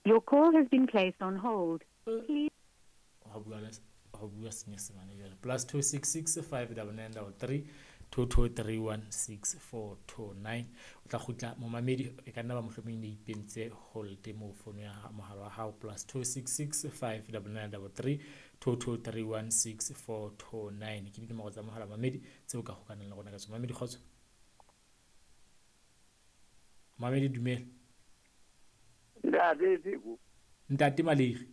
Your call has been placed on hold. Please. Ho bua le ho bua Senyesemane jwale. +266 599 33 22 31 64 29. O tla kgutla momamedi, e ka nna ba mohlomong ne ipentse hold mo fono ya mohala wa hao. +266 599 33 22 31 64 29 ke dinomoro tsa mohala mamedi tseo ka hokanang le rona ka tsona. Mamedi, kgotso. Mamedi, dumela. Ntate Teko. Ntate Maleri.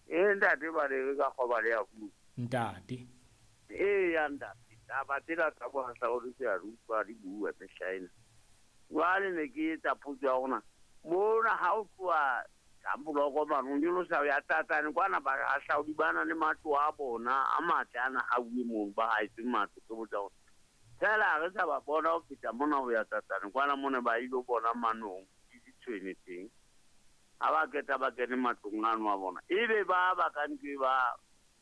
Eh, ntate Maleri ka kgoba le ya bua. Ntate. Eh, ya ntate. Taba tsena tsa bohahlaudi ke a di utlwa di bua mehlaena. Jwale ne ke etsa potso ya rona. Mona ha o tloha Kamboloko mane, o nyolosa ya Tatsane kwana, bahahlaudi ba na le matlo a bona a matle ana a uwe mono, ba haetse matlo, ke botsa hore feela ha re sa ba bona ho feta mona ho ya Tatsane kwana mona ba ilo bona manong le ditshwene teng. Ha ba qeta ba kene matlong ano a bona, ebe ba ba ka ntlo ba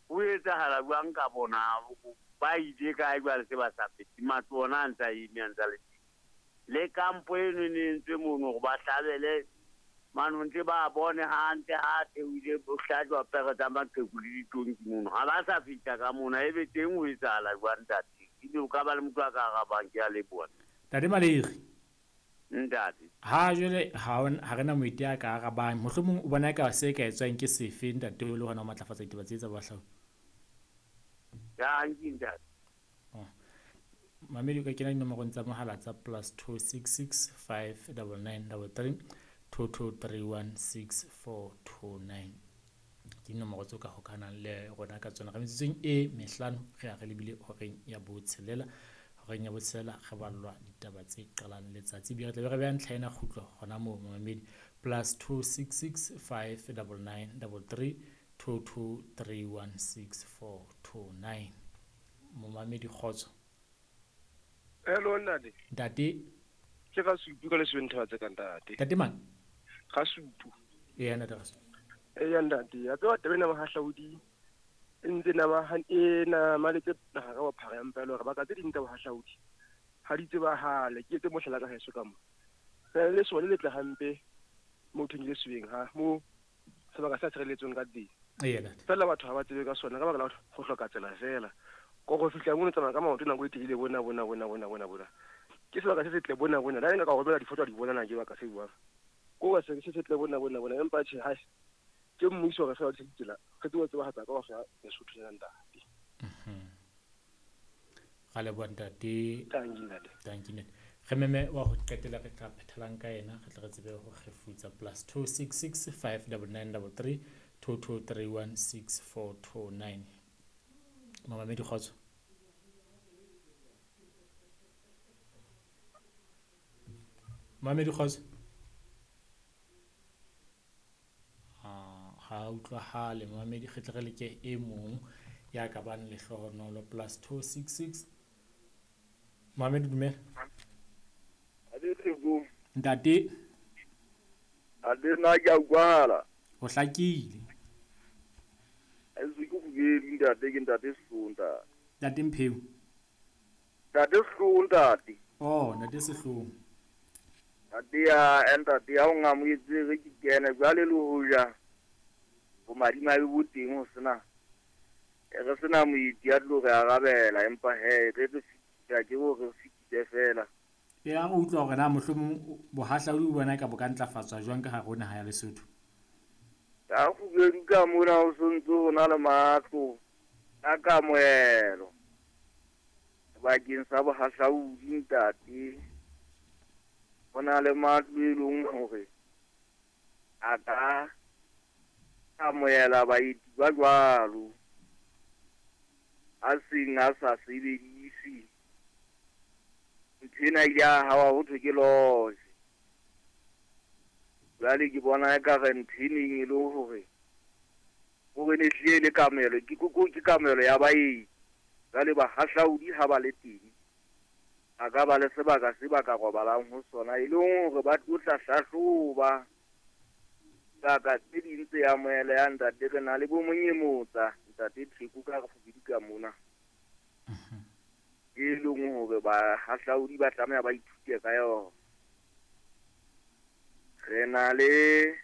ho etsahala jwang ka bona, ba ile kae jwale se ba sa fete matlo ona a ntse a eme a ntse a le teng. Le kampo eno e ne entswe mono hore ba hlabele manong ntse ba bone hantle ha theohile ho hlajwa pere tsa maqheku le ditonki mono. Ha ba sa fihla ka mona, ebe teng ho etsahala jwang ntate? Ebe o ka ba le motho a ka arabang, ke a leboha. Ntate Maleri. Ntate. Ha jwale ha re na moeti a ka arabang. Mohlomong o bona eka se ka etswang ke sefe ntate o le hona ho matlafatsa ditaba tse tsa bohahlaudi? Dankie ntate. Oh. Mamedi o ka kena dinomorong tsa mohala tsa +266 599 33 22 31 64 29. Ke dinomoro tseo ka hokahanang le rona ka tsona. Re metsotsong e mehlano re ya re lebile horeng ya botshelela. Horeng ya botshelela re ballwa ditaba tse qalang letsatsi. Ebile re tlabe re beha ntlha ena kgutlo hona moo mamedi. +266 599 33 22 31 64 29. Momamedi, kgotso. Hello ntate. Ntate. Ke ga Supu ka lesweng thaba tse ka ntate. Ntate mang? Ga Supu. Ee, ntate ga Supu. Ee, ntate. Ya tseba taba ena bohahlaudi e ntse e namaletse naha ka bophara ya mpa e le hore baka tse ding tsa bohahlaudi ha di tsebahale. Ke etse mohlala ka heso ka mo. Re na le lesole le tle hampe mo thong le sweng ha mo sebaka sa tshireletsong ka teng. Ee, ntate. Fela batho ha ba tsebe ka sona ka baka la ho hloka tsela fela. Ko go fihla mono tsamaya ka maoto nako e telele bona bona bona bona bona bona. Ke sebaka se setle bona bona. La nka ka romela difoto di bona na ke baka se buang. Ko se se setle bona bona bona empa tjhe hai. Ke mmuso re fela ditsela. Re tsebe tsebahatsa ka hore Lesotho le ntate. Ra leboha ntate. Thank you ntate. Thank you ntate. Re meme wa ho qetela re tla phethelang ka yena, re tle re tsebe ho kgefutsa. +266 599 33 22 31 64 29. Mamamedi, kgotso. Mamedi, kgotso. Ha utlwahale mamedi, re tle re leke e mong ya ka bang lehlohonolo. +266. Mamedi, dumela. Ntate. Ade na ke a utlwahala. O hlakile. Ke bobedi ntate, ke ntate Sehlooho ntate. Ntate Mpheu. Ntate Sehlooho ntate. Oh, ntate Sehlooho. Ntate ya ntate ya o ngamoetse re ke kene jwale le hoja bomadimabe bo teng ho sena. Re sena moeti ya tlo re arabela empa he re re fitisa ke hore re fitise fela. Ya o utlwa hore na mohlomong bohahlaudi bo bona ka bo ka ntlafatswa jwang ka hare ho naha ya Lesotho? Ka kgubedu ka mona ho sontso ho na le matlo a kamohelo bakeng sa bohahlaudi ntate. Ho na le matlo e leng hore a ka amohela baeti ba jwalo a seng a sa sebedise. Ntho ena ile ya hawa ho thwe ke lodge. Jwale ke bona ekare ntho e neng e le hore hore ne hlile le kamohelo ke kamohelo ya baeti. Jwale bahahlaudi ha ba le teng a ka ba le sebaka se ba ka robalang ho sona e leng hore ba tlo tla hlahloba sebaka tse ding tse amohelehang ntate. Re na le bo Monyemotsa ntate Theko ka re fobedi ka mona e leng hore bahahlaudi ba tlameha ba ithute ka yona. Re na le